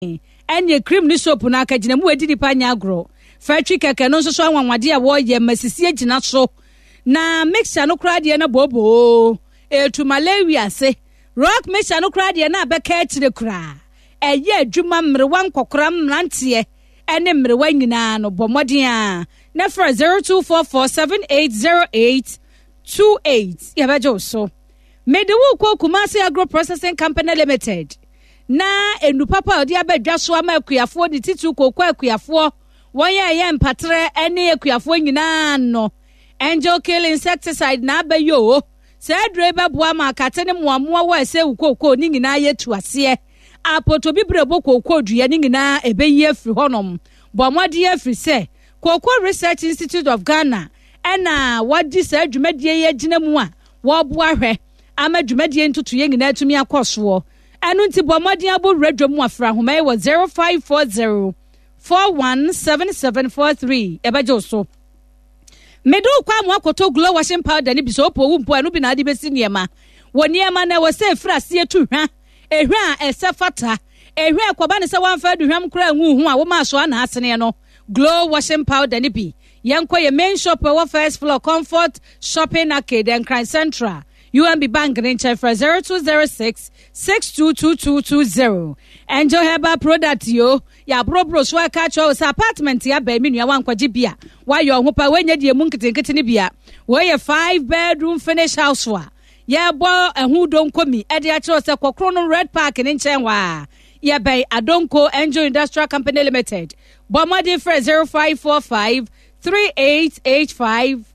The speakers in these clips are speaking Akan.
Ɛnneɛ cream ne soap no akagyina mu adi nipa nyɛ agorɔ. Factory kɛkɛ no nso so anwanwadeɛ a wɔyɛ ma sisi agyina so. Na mixture no koraa deɛ na booboo. Ɛtu malaria ase. Rock mixture no koraa deɛ na abɛka akyire koraa. Ɛyɛ adwuma mmerewa nkɔkora mmeranteɛ ne mmerewa nyinaa no bɔ mmɔden a na frɛ 0244780828 yɛbɛgye wo so. Mede wo kɔ Kumasi Agro Processing Company Limited. Na nnuru papa a ɔde aba dwa so ama akuafoɔ, ne titiriw kooko akuafoɔ, wɔn a ɛyɛ mpaterɛ ne akuafoɔ nyinaa no. Angel Kill Insecticide na aba yi o. Saa aduro yi bɛboa ma akate ne mmoammoa wɔ ɛsɛ wo kooko ne nyinaa yɛ tu aseɛ. Apotobibire bɔ kooko dua ne nyinaa ɛbɛyi afiri hɔnom. Bɔ mmɔden afiri sɛ Cocoa Research Institute of Ghana ɛna wɔde saa dwumadie yi agyina mu a wɔreboa hwɛ ama dwumadie ntotoeɛ nyinaa atumi akɔ soɔ. Ɛno nti bɔ mmɔden abɔ wura dwam mu afra ahoma yi wɔ 0540 417743 yɛbɛgye wo so. Mede wo kɔ amoa kɔtɔ glow washing powder no bi sɛ wopɛ owu mpo a ɛno bi na ade bɛsi nneɛma. Wɔ nneɛma no ɛwɔ sɛ ɛfiri aseɛ tu hwa. Ehwa a ɛsɛ fata. Ehwa a ɛkɔba ne sɛ woamfa aduhwam koraa angu ho a woma asoa na aseneɛ no. Glow washing powder no bi. Yɛnkɔ yɛ main shop ɛwɔ first floor Comfort Shopping Arcade Nkran Central. UMB Bank ne nkyɛn frɛ 0206 622220. Angel Herbal Product yo, yɛaborɔborɔ so aka akyerɛ wo sɛ apartment abɛn me nua wankɔgye bi a wayɛ ɔho pa woanya deɛ mu nketenkete no bi a wɔyɛ 5 bedroom finish house a yɛbɔ ɛho donkomi ɛde akyerɛ wo sɛ kɔkoro no Red Park ne nkyɛn hɔ a yɛbɛn Adonko Angel Industrial Company Limited. Bɔ mmɔden frɛ 0545 3885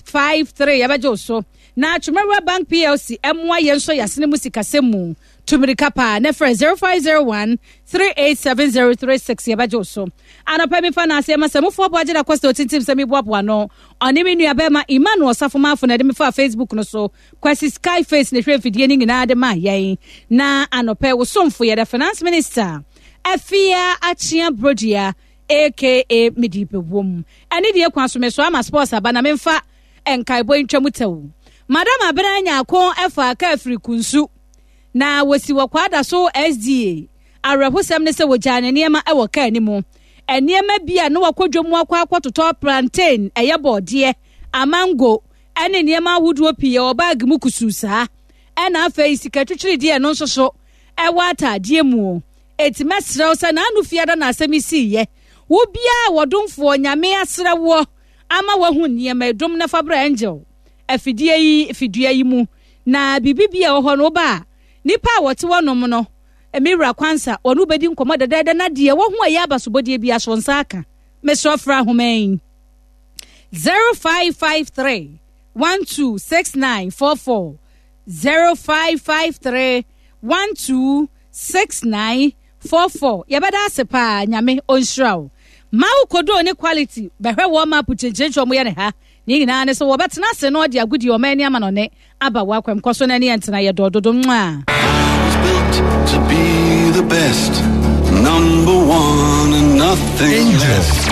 53 yɛbɛgye wo so. Na Twumawura Bank PLC mmoa yɛn nso yɛasene mu sikasɛm mu. Tu mmirika paa na frɛ 0501 387036 yɛbɛgye wo so. Anɔpa mi fa n'ase ma sɛ mufoɔ boagye da kɔsɛ otintim sɛ meboaboa no. Ɔne me nua bɛrima Emmanuel Ɔsafo na ɛde me faa Facebook no so. Kwasi Skyface na ɛhwɛ mfidie no nyinaa de maa yɛn. Na anɔpa wo somfo yɛ the finance minister Afia Akyea Brodua aka Medi Bɛwom. Ɛne deɛ kwan so mesoa ama sports aba na memfa nkaebɔ yi ntwa mu tɛw. Madam Abena Nyarko faa kaa firi Kunsu na wɔsi wɔ Kwadaso SDA. Awerɛhosɛm ne sɛ wɔgyaa ne nneɛma wɔ kaa no mu. Nneɛma bi a na wakɔ dwam akɔ akɔtotɔ plantain, ɛyɛ bɔɔdeɛ, amango ne nneɛma ahodoɔ pii wɔ baage mu kusuu saa. Ɛna afei sika twitwirideɛ no nso so ɛwɔ ataadeɛ mu. Enti mɛsrɛ wo sɛ n'ano fiada na asɛm yi siiɛ. Wo biara a wɔdomfoɔ Nyame asrɛ woɔ ama woahu nneɛma yi, dom na fa bra Angel afidie yi fidua yi mu. Na biribi bi a ɛwɔ hɔ no, woba a, nnipa a wɔte hɔ nom no, me wura Kwansa, wɔne wo bɛdi nkɔmmɔ dɛdɛɛdɛ na deɛ wɔho a ɛyɛ abasobɔdeɛ biara so nsa aka. Mesrɛ frɛ ahoma yi 0553 126944 0553 126944 Yɛbɛda ase paa Nyame ɔnhyira wo. Ma wo kodoo ne quality bɛhwɛ warm up kyenkyenkyen ɔmo yɛ ne ha. Ne nyinaa ne sɛ wɔbɛtena ase na ɔde agodie ɔman ani amanɔne aba w'akwam kɔ so na ɛne yɛn ntena yɛ dɔ dodo mwaa. I was built to be the best, number one and nothing Angel less.